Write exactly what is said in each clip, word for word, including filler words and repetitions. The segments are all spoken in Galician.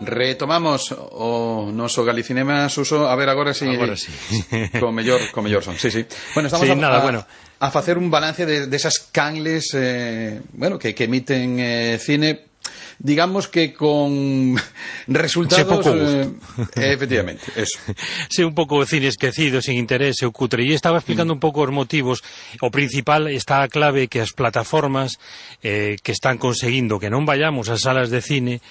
Retomamos o noso Galicinema, Suso. A ver, agora si agora sí. co mellor, co mellor son. Sí, sí. Bueno, estamos sí, a, nada, a, bueno. a facer un balance de, de esas canles eh, bueno, que, que emiten eh, cine, digamos que con resultados eh, efectivamente, eso. Sí, un pouco cine esquecido, sin interés, o cutre. E estaba explicando mm. un pouco os motivos. O principal está a clave que as plataformas eh, que están conseguindo que non vayamos ás salas de cine,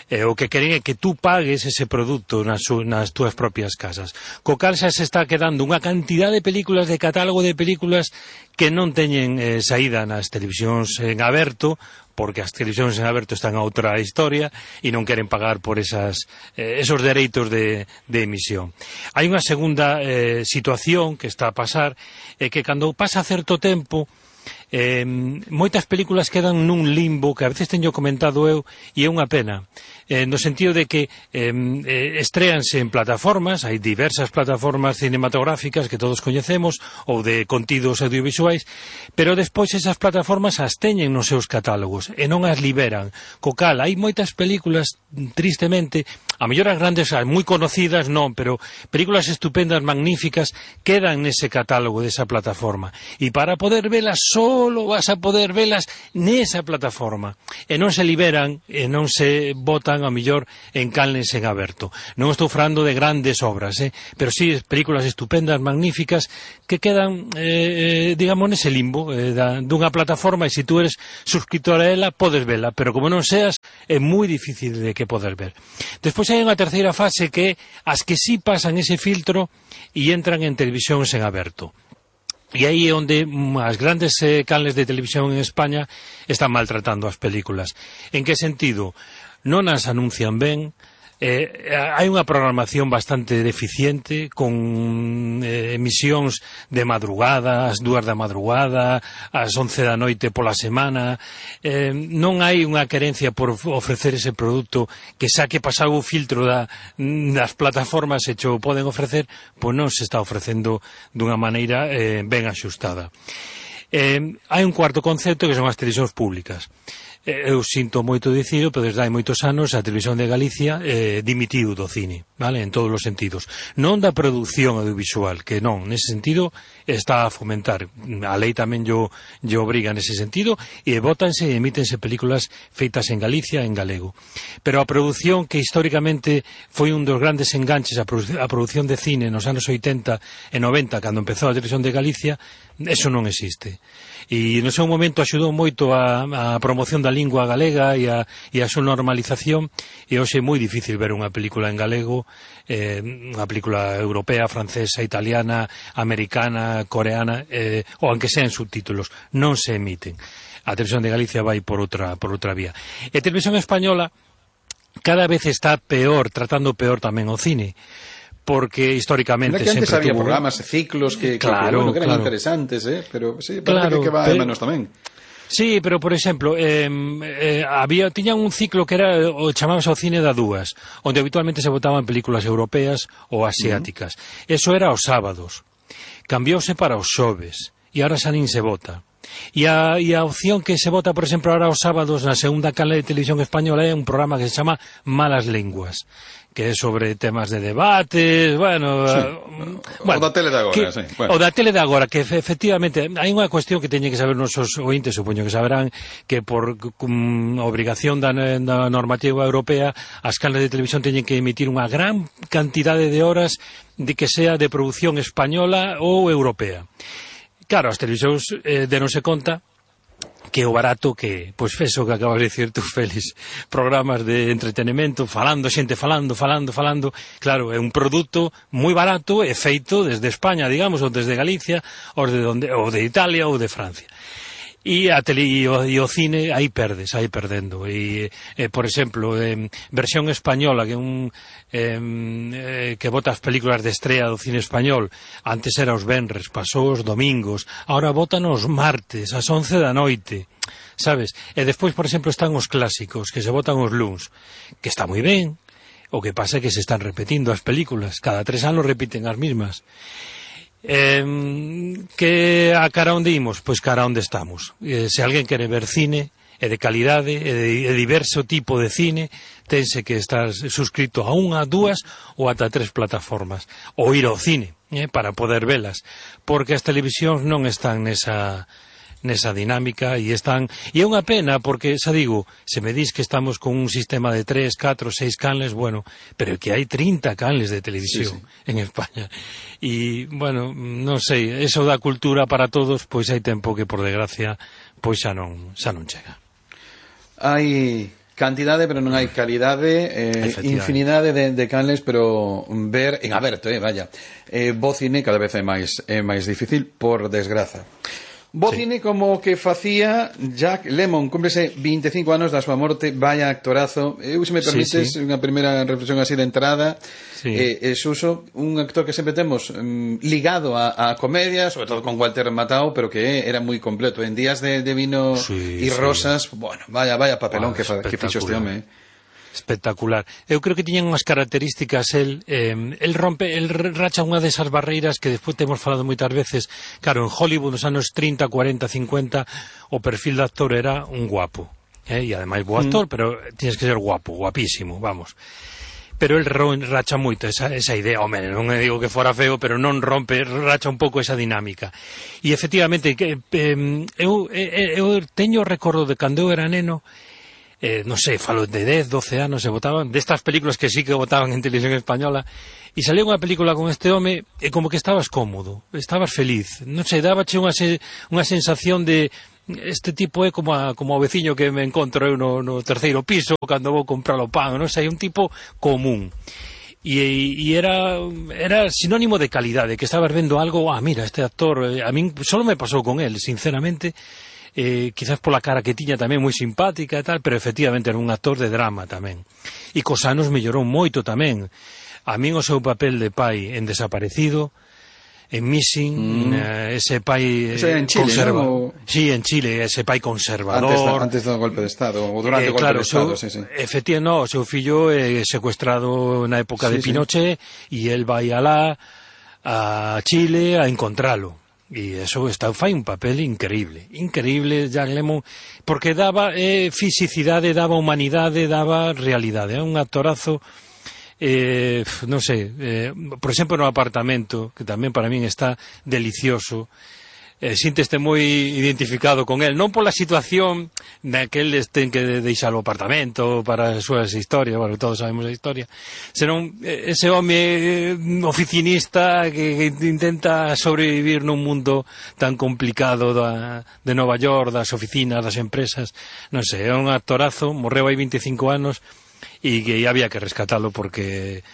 Eh, o que queren é que tú pagues ese produto nas, nas túas propias casas. Co cal xa se está quedando unha cantidad de películas, de catálogo de películas que non teñen eh, saída nas televisións en aberto, porque as televisións en aberto están a outra historia e non queren pagar por esas, eh, esos dereitos de, de emisión. Hai unha segunda eh, situación que está a pasar, é eh, que cando pasa certo tempo, Eh, moitas películas quedan nun limbo que a veces teño comentado eu e é unha pena, eh, no sentido de que eh, estréanse en plataformas, hai diversas plataformas cinematográficas que todos coñecemos ou de contidos audiovisuais, pero despois esas plataformas as teñen nos seus catálogos e non as liberan, co cal hai moitas películas, tristemente, a mellor as grandes, as moi conocidas non, pero películas estupendas, magníficas, quedan nese catálogo desa plataforma e para poder velas solo vas a poder velas nesa plataforma e non se liberan e non se botan a mellor en canles en aberto. Non estou falando de grandes obras, eh? pero sí películas estupendas, magníficas que quedan, eh, digamos, nese limbo eh, da, dunha plataforma e se tú eres suscriptor a ela podes vela, pero como non seas é moi difícil de que poder ver. Despois hai unha terceira fase que as que sí pasan ese filtro e entran en televisións en aberto. E aí é onde as grandes eh, canles de televisión en España están maltratando as películas. En que sentido? Non as anuncian ben, eh, hai unha programación bastante deficiente, con eh, emisións de madrugada, ás dúas da madrugada, ás once da noite pola semana. Eh, non hai unha querencia por ofrecer ese produto que xa que pasado o filtro da, das plataformas e cho poden ofrecer, pois non se está ofrecendo dunha maneira eh, ben axustada. Eh, hai un cuarto concepto que son as televisións públicas. Eu sinto moito dicilo, pero desde hai moitos anos a Televisión de Galicia eh, dimitiu do cine, vale, en todos os sentidos. Non da produción audiovisual, que non, nese sentido está a fomentar. A lei tamén yo, yo obriga nese sentido, e botanse e emítense películas feitas en Galicia en galego. Pero a produción que históricamente foi un dos grandes enganches a, produ a produción de cine nos anos oitenta e noventa, cando empezou a Televisión de Galicia, eso non existe. E no seu momento axudou moito a, a promoción da lingua galega e a, e a súa normalización, e hoxe é moi difícil ver unha película en galego, eh, unha película europea, francesa, italiana, americana, coreana, eh, ou aunque sean subtítulos, non se emiten. A Televisión de Galicia vai por outra, por outra vía. E a Televisión Española cada vez está peor, tratando peor tamén o cine, porque históricamente que antes sempre había tuvo programas e ciclos que, claro, que, bueno, que eran claro. interesantes, eh? pero sí, parece claro, que, que va pero, menos tamén. Sí, pero por exemplo, eh, eh, había tiñan un ciclo que era o chamábase o cine da dúas, onde habitualmente se botaban películas europeas ou asiáticas. Uh-huh. Eso era os sábados. Cambiouse para os xoves e ahora xa nin se vota. E a, e a opción que se vota, por exemplo, ahora os sábados na segunda canle de televisión española é un programa que se chama Malas Linguas, que é sobre temas de debates, bueno... Sí. Uh, bueno o da tele de agora, que, sí. Bueno. O da tele de agora, que efectivamente hai unha cuestión que teñen que saber nosos ointes, supoño que saberán, que por um, obrigación da, da normativa europea, as canles de televisión teñen que emitir unha gran cantidade de horas de que sea de produción española ou europea. Claro, as televisións eh, denose conta que o barato que, pois eso que acabas de dicir tú, Félix, programas de entretenimento, falando, xente falando, falando, falando, claro, é un produto moi barato e feito desde España, digamos, ou desde Galicia, ou de, donde, ou de Italia ou de Francia. E a tele e o, e o cine aí perdes, aí perdendo. E, eh, por exemplo, eh, versión española, que un eh, eh, que bota as películas de estrea do cine español, antes era os venres, pasou os domingos, ahora botan os martes, ás once da noite, sabes? E despois, por exemplo, están os clásicos, que se botan os luns, que está moi ben, o que pasa é que se están repetindo as películas, cada tres anos repiten as mismas. Eh, que a cara onde imos? Pois cara onde estamos. Eh, se alguén quere ver cine e de calidade e de, de diverso tipo de cine, tense que estar suscrito a unha, dúas ou ata tres plataformas, ou ir ao cine eh, para poder velas, porque as televisións non están nesa nesa dinámica e están, e é unha pena porque, xa digo, se me dis que estamos con un sistema de tres, catro, seis canles, bueno, pero que hai trinta canles de televisión sí, sí. en España e, bueno, non sei, eso da cultura para todos, pois hai tempo que, por desgracia, pois xa non, xa non chega. Hai cantidade, pero non hai calidade, eh, infinidade de, de canles, pero ver en aberto, eh, vaya, eh, bo cine cada vez é máis, é máis difícil, por desgraza. Bo sí. Cine como que facía Jack Lemmon, cúmplese vinte e cinco anos da súa morte, vaya actorazo. Eu, se me permites, sí, sí. unha primeira reflexión así de entrada, sí. eh, é Suso, un actor que sempre temos um, ligado a, a comedia, sobre todo con Walter Matthau, pero que era moi completo. En Días de, de vino e sí, rosas, sí. bueno, vaya, vaya papelón ah, que, fa, que fixo este home, eh. Espectacular. Eu creo que tiñan unhas características, el, eh, el rompe, el racha unha desas barreiras que despois temos falado moitas veces. Claro, en Hollywood nos anos trinta, cuarenta, cincuenta o perfil de actor era un guapo, eh, e ademais bo actor, mm. pero tienes que ser guapo, guapísimo, vamos. Pero el racha moito esa, esa idea, home, non digo que fora feo, pero non rompe, racha un pouco esa dinámica. E efectivamente, que, eh, eu, eu, eu teño recordo de cando eu era neno. Eh, non sei, falo de dez, doce anos se votaban, destas películas que sí que votaban en televisión española, e salía unha película con este home e como que estabas cómodo, estabas feliz, non sei, dábache unha, se, unha sensación de este tipo é como, a, como o veciño que me encontro eu no, no terceiro piso cando vou comprar o pan, non sei, un tipo común. E, e era, era sinónimo de calidade, que estabas vendo algo, ah, mira, este actor, a min solo me pasou con él, sinceramente. Eh, quizás pola cara que tiña tamén moi simpática e tal, pero efectivamente era un actor de drama tamén. E cos anos mellorou moito tamén. A min o seu papel de pai en Desaparecido, en Missing, mm. eh, ese pai eh, en Chile, conservador. ¿No? Sí, en Chile, ese pai conservador. Antes, antes do golpe de Estado, ou durante eh, o golpe claro, de Estado, seu, sí, sí. Efectivamente, no, o seu fillo é eh, secuestrado na época sí, de Pinochet, e sí. el vai alá a Chile a encontralo. E eso está, fai un papel increíble, increíble Jack Lemmon, porque daba eh, fisicidade, daba humanidade, daba realidade, é un actorazo, eh, non sei, eh, por exemplo no Apartamento, que tamén para min está delicioso, eh, sínteste moi identificado con el, non pola situación na que eles ten que deixar o apartamento para as súas historias, bueno, todos sabemos a historia, senón ese home oficinista que, que intenta sobrevivir nun mundo tan complicado da, de Nova York, das oficinas, das empresas, non sei, é un actorazo, morreu hai vinte e cinco anos e que había que rescatalo porque